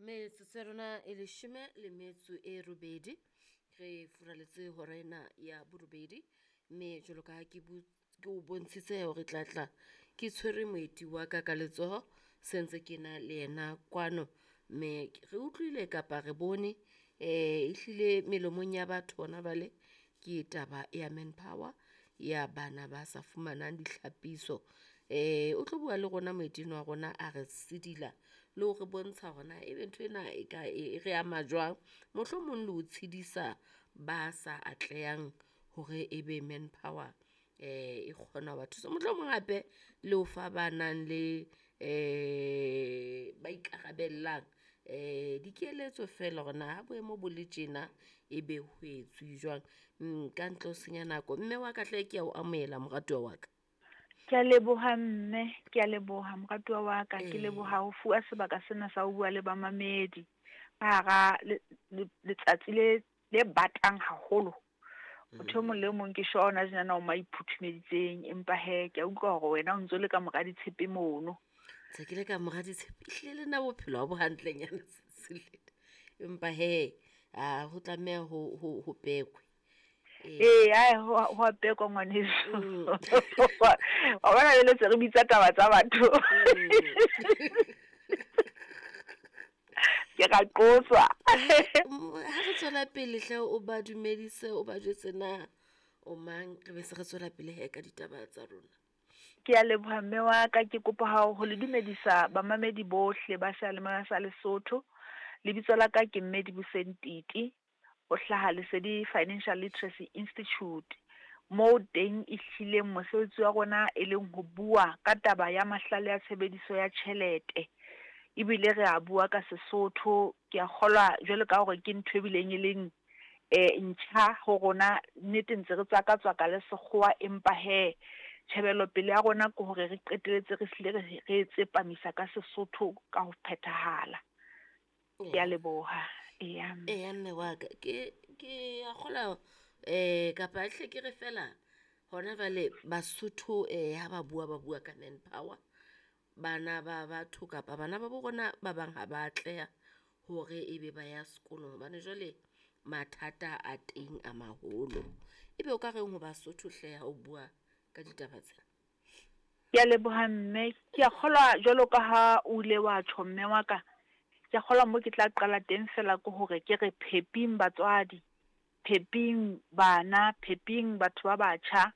Metsotso ya rona e leshome le metso e robedi re furaletse hora ena ya borobedi, mme jwalo ka ha ke ke o bontshitse hore tla tla ke tshwere moeti wa ka ka letsoho, se ntse ke na le yena kwano. Mme re utlwile kapa re bone ehlile melomong ya batho hona jwale ke taba ya manpower ya bana ba sa fumanang ditlhapiso. O tlo bua le rona moeti enwa wa rona a re sidila le ho re bontsha hore na ebe nthwena e ka e re ama jwang, mohlomong le ho tshedisa ba sa atlehang hore ebe manpower e kgona ho ba thusa. Mohlomong hape le ho fa ba nang le ba ikarabellang dikeletso feela hore na ha boemo bo le tjena ebe ho etsuwe jwang. Ka ntle ho senya nako mme wa ka hle ke ya o amohela moratuwa wa ka. Ke a leboha mme, ke a leboha moratuwa wa ka, ke leboha ho fuwa sebaka sena sa ho bua le bamamedi. Ka hara letsatsi le le batang haholo. Motho e mong le mong ke sure hona tjenana o mo a iphuthumeditseng, empa hee ke a utlwa hore wena o ntso le ka mora ditshepe mono. Ntse ke le ka mora ditshepe, ehlile le nna bophelo ha bo hantlenyana empa hee ho tlameha ho pekwe. Ee, ae ho a pekwa ngwaneso. Wa bona jwale se re bitsa taba tsa batho. Ke ra qoswa. Ha re tswela pele hle o ba dumedise, o ba jwetse na o mang, re be se re tswela pele hee ka ditaba tsa rona. Ke a leboha mme wa ka, ke kopa ho le dumedisa bamamedi bohle ba seyalemoya sa Lesotho. Lebitso la ka ke mme Dibuseng Titi, ho hlaha Lesedi Financial Literacy Institute. Moo teng e hlileng mosebetsi wa rona e leng ho bua ka taba ya mahlale a tshebediso ya tjhelete. Ebile re a bua ka Sesotho, ke a kgolwa jwalo ka hore ke ntho e bileng e leng ntjha ho rona, nnete ntse re tswaka-tswaka le sekgowa, empa hee tjhebelopele ya rona ke hore re qetelletse re hlile re tsepamisa ka Sesotho ka ho phethahala. Ke a leboha, eya. Eya mme wa ka, ke a kgolwa kapa hle ke re feela hona jwale Basotho ha ba bua, ba bua ka manpower. Bana ba batho kapa bana ba bo rona ba bang ha ba atleha hore ebe ba ya sekolong hobane jwale mathata a teng a maholo. Ebe o ka reng ho Basotho hle ha o bua ka ditaba tsena? Ke a leboha mme, ke a kgolwa jwalo ka ha o ile wa tjho mme wa ka, ke a kgolwa mo ke tla qala teng fela ke hore ke re pheping batswadi, pheping bana, pheping batho ba batjha.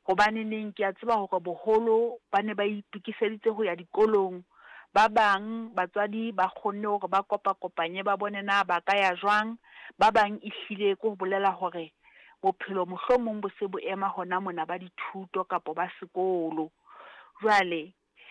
Hobaneneng ke a tseba hore boholo ba ne ba itokiseditse ho ya dikolong. Ba bang batswadi ba kgonne hore ba kopa-kopanye ba bone na ba ka ya jwang. Ba bang ehlile ke ho bolela hore bophelo mohlomong bo se bo ema hona mona ba dithuto kapo ba sekolo. Jwale